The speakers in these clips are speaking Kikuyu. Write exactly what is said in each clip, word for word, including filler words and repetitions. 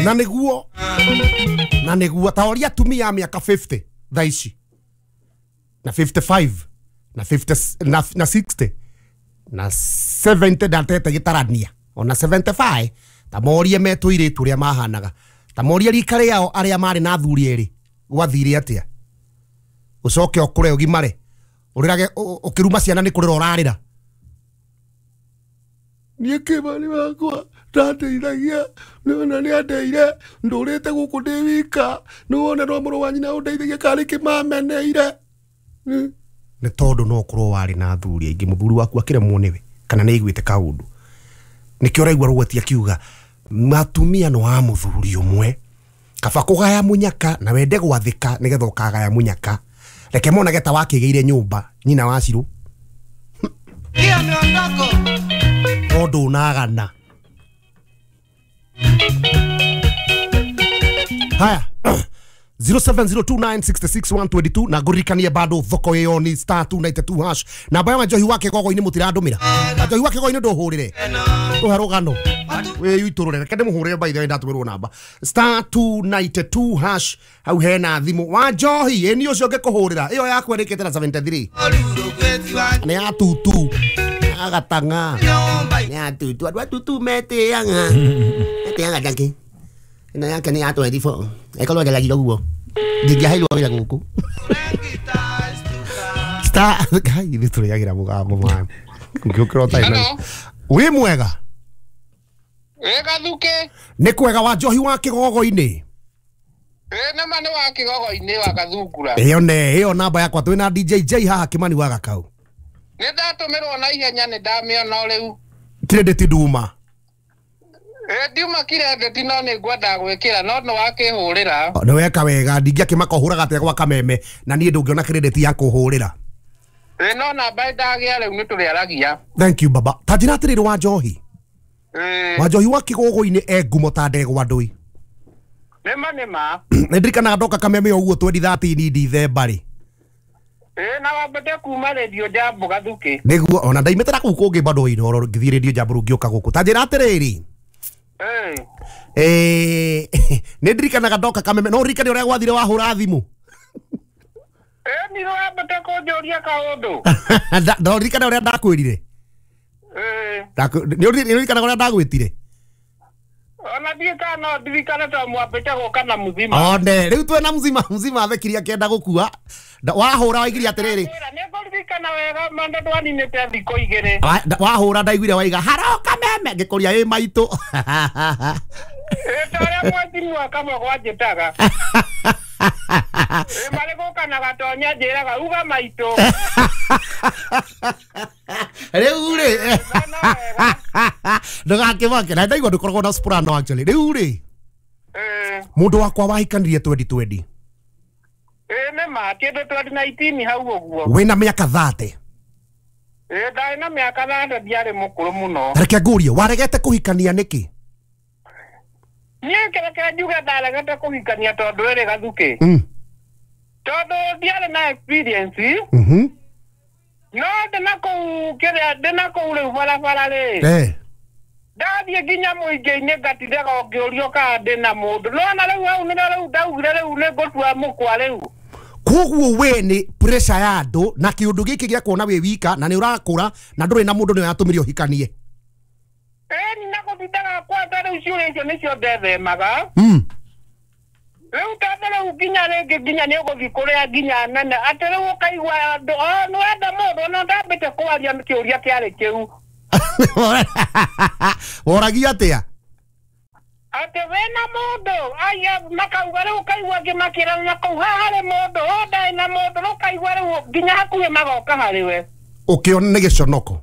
Na nĩguo na nĩguo ta ũrĩa atumia a mĩaka fifty thaa ici na fifty-five na fifty na, na sixty na seventy ndatete gĩtarania ona seventy-five ta morie metũirĩtu ũrĩa mahanaga ta morie rika rĩao arĩa marĩ na athuri erĩ gwathire atĩa ũcoke ũkũre ũgimare ũrĩrage ũkĩruma ciana nĩ kũrĩra ũrarĩra niĩ kĩmani wakwa ndateithagia nĩwona nĩandeire ndũrĩte gũkũ ndĩ wika nĩwona no mũrũ wa nyina ũndeithagia karĩ kĩmameneire nĩ tondũ no ũkorwo warĩ na athuri aingĩ mũthuri waku akĩremwo nĩwe kana nĩ aiguĩte kaũndũ nĩkĩo ũraigua Rũgweti akiuga matumia no wa mũthuri ũmwe kaba kũgaya mũnyaka na wende gwathĩka nĩgetha ũkagaya mũnyaka reke monage ta wakĩgĩire nyũmba nyina wa Cirũ tondũ unagana haya zero seven zero two nine six six one two two na ngũririkanie bado thoko ĩyo ni star two nine two hash namba ya njohi wake gogo-inĩ mũtirandũmĩra njohi wake gogo-inĩ ndũhũrĩre tũhe rũgano wĩitũrũre reke ndĩmũhũrĩre by the way ndatũmĩrwo namba star two nine two hash hau hena thimũ wa njohi ĩni ũcio ngĩkũhũrĩra ĩyo yakwa ĩrĩkĩte na seventy-three nĩ ya tutu agatang'a nĩ ya tutu andũ a tutu metĩaga metĩaga takĩ ĩno yake nĩ ya twenty-four ĩkorwo ngeragire ũguo ndingĩaheirwo wĩra gũkũ star ngai ithuĩ tũrĩagĩra mũgambo man ngĩũkĩra ũtarĩ na wĩ mwega Wĩ Gathuke nĩ kwega wa njohi wa kĩgogo-inĩ ĩ nama nĩ wa kĩgogo-inĩ wa Gathungura ĩyo ne ĩyo namba yakwa twĩ na D J J haha Kĩmani wa Gakau nĩ ndatũmĩrwo na ihenya nĩ ndamĩona rĩu credit nduma ĩ ndiuma credit no nĩ ngwenda gwĩkĩra no nĩ wakĩhũrĩra nĩ weka wega ndingĩakĩmaka ũhũraga atĩa gwa kameme na niĩ ndũngĩona credit ya kũhũrĩra ĩ no namba ndagĩa rĩu nĩ tũrĩaragia thank you baba ta njĩra atĩrĩrĩ wa njohi wa njohi wa kĩgogo-inĩ e ngumo ta ndegwa ndũi nĩma nĩma nĩ ndirikanaga ndoka kameme ũguo twenty thirteen December rĩ ĩ na wambate kuma Radio Jambo Gathuke nĩguo ona ndaimĩte na kũu kũngĩ bado Inooro ngĩthiĩ Radio Jambo rĩu ngĩũka gũkũ ta njĩra atĩrĩrĩ ĩ nĩ ndirikanaga ndoka kameme no ũririkane ũrĩa gwathire wahũra thimũ ĩ nĩ wambate kũnjũria kaũndũ no ũririkane ũrĩa ndakwĩrire nĩ ũririkanaga ũrĩa ndagwĩtire ona ndiĩ kana no ndirikane to mwambĩte gũka na mũthima one rĩu twĩna mũthima mũthima athekirie akĩenda gũkua wahũra waigire atĩrĩrĩ nĩ ngũririkana wega manda ndwaninĩte thikũ igĩrĩ wahũra ndaiguire waiga haroka meme ngĩkũria ĩ maitũ ĩ ta ũrĩa mwezi mwaka mũgwanjĩtaga ĩ marĩ gũka na gatonya njĩraga uga maitũ rĩu rĩ ndũgakĩmake na ndaigua ndũkoragwo na soprano actually rĩu rĩ mũndũ wakwa wahikanirie twenty twenty ĩ nĩma kĩndũ twenty nineteen hau ũguo wĩna mĩaka thirty ĩ ndarĩ na mĩaka thirty ndiarĩ mũkũrũ mũno reke ngũrie waregete kũhikania nĩkĩ niĩ kĩreke njuge ndaregete kũhikania tondũ ĩrĩ Gathuke tondũ ndiarĩ na experience mhm no ndĩna kũu kĩrĩa ndĩna kũu rĩu barabara rĩ eh ndathiĩ nginya mũingĩ-inĩ ngatindaga ngĩũrio kana ndĩna mũndũ nona rĩu hau nĩrĩo rĩu ndaugire rĩu nĩ ngũtua mũkwa rĩu koguo we nĩ pressure ya andũ na kĩũndũ gĩkĩ gĩa kuona wĩ wika na nĩ ũrakũra na ndũrĩ na mũndũ nĩyo yatũmire ũhikanie ĩni na gũtindaga kwanja rĩu ciũria icio nĩcio ndethemaga rĩu tondũ rĩu nginya rĩngĩ nginya nĩ ũgũthiĩ kũrĩa nginya nene atĩ rĩu ũkaigua andũ o nĩwenda mũndũ ona ndambĩte kwaria kĩũria kĩarĩ kĩu woragia atĩa atĩ wĩna mũndũ aya makauga rĩu ũkaigua angĩ makĩrana na kũu haha harĩ mũndũ o ndarĩ na mũndũ rĩu ũkaigua rĩu nginya hakuhĩ magoka harĩ we ũkĩona nĩ gĩconoko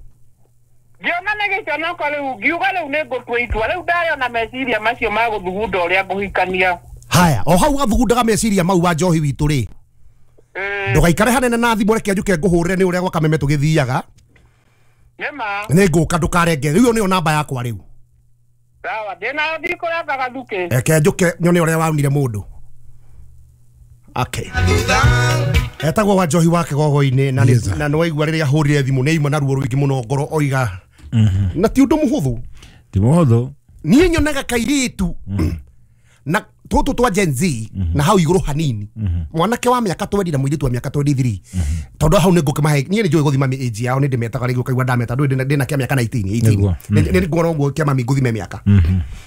ngĩona nĩ gĩconoko rĩu ngiuga rĩu nĩ ngũtua itua rĩu ndarĩ ona meciria macio ma gũthugunda ũrĩa ngũhikania haya o hau gathugundaga meciria mau wa njohi witũ rĩ ndũgaikare hanene na thimũ reke njuke ngũhũrĩre nĩ ũrĩa gwa kameme tũgĩthiaga nĩma nĩ ngũka ndũkarenge rĩu ĩyo nĩyo namba yakwa rĩu sawa ndĩna ndikũranga Gathuke reke njuke nyone ũrĩa waunire mũndũ okay etagwo wa njohi wa kĩgogo-inĩ na na nĩ waigua rĩrĩa ahũrire thimũ nĩ aima na ruo rũingĩ mũno ngoro oiga na ti ũndũ mũhũthũ ti mũhũthũ Niĩ nyonaga kairĩtu na tũtũ twa Gen Z na hau igũrũ hanini, mwanake wa mĩaka twendi na mũirĩtu wa mĩaka twenty-three, tondũ hau nĩ ngũkĩmahe. Niĩ nĩ njũĩ gũthima age yao, nĩ ndĩmetaga rĩngĩ ũkaigua ndameta ndũĩ ndĩna kĩa mĩaka nineteen eighteen. Nĩguo. Nĩ nguona ũguo kĩa mami ngũthime mĩaka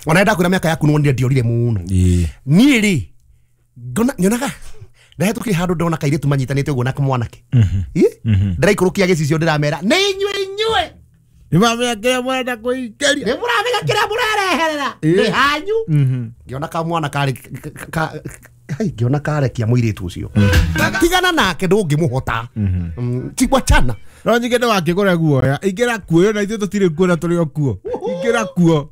ona ndakwĩra mĩaka yaku nĩwonire ndiorire mũno. Ĩĩ. Niĩ rĩ ngona nyonaga ndahĩtũkire handũ ndona kairĩtu manyitanĩte ũguo na kamwanake. Ĩ? Ndĩraikũrũkia gĩcicio ndĩramera nĩ inyuĩ inyuĩ Nĩ mamenya kĩrĩa mũrenda kũingĩria. Nĩ mũramenya kĩrĩa mũrereherera nĩ hanyu. Ngĩona kamwana karĩ ka- hai, ngĩona karekia mũirĩtu ũcio, tigana nake, ndũngĩmũhota. Mm, tigwachana. No nyingĩ nĩ wakĩgũra guoya, ingĩra kuo na ithuĩ tũtirĩ kuo na tũrĩ o kuo, ingĩra kuo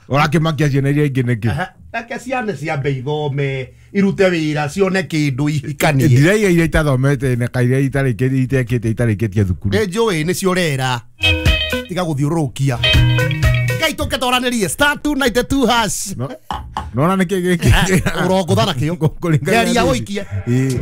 ũrakĩmakia ciana iria ingĩ nĩkĩ? Reke ciana ciambe ithome, irute wĩra, cione kĩndũ, ihikanie. Ndiraiga iria itathomete na kairia itarĩkĩtie itekĩte itarĩkĩtie thukuru. Nĩ njũĩ nĩcio ũrera, tiga gũthiũrũrũkia. Ngai tũkĩtoranĩrie star two nine two hash. No- nona nĩkĩ gĩkĩ? Ũrongũtha nakĩo. Kũringana na Geria theci. ũikie. Ĩĩ.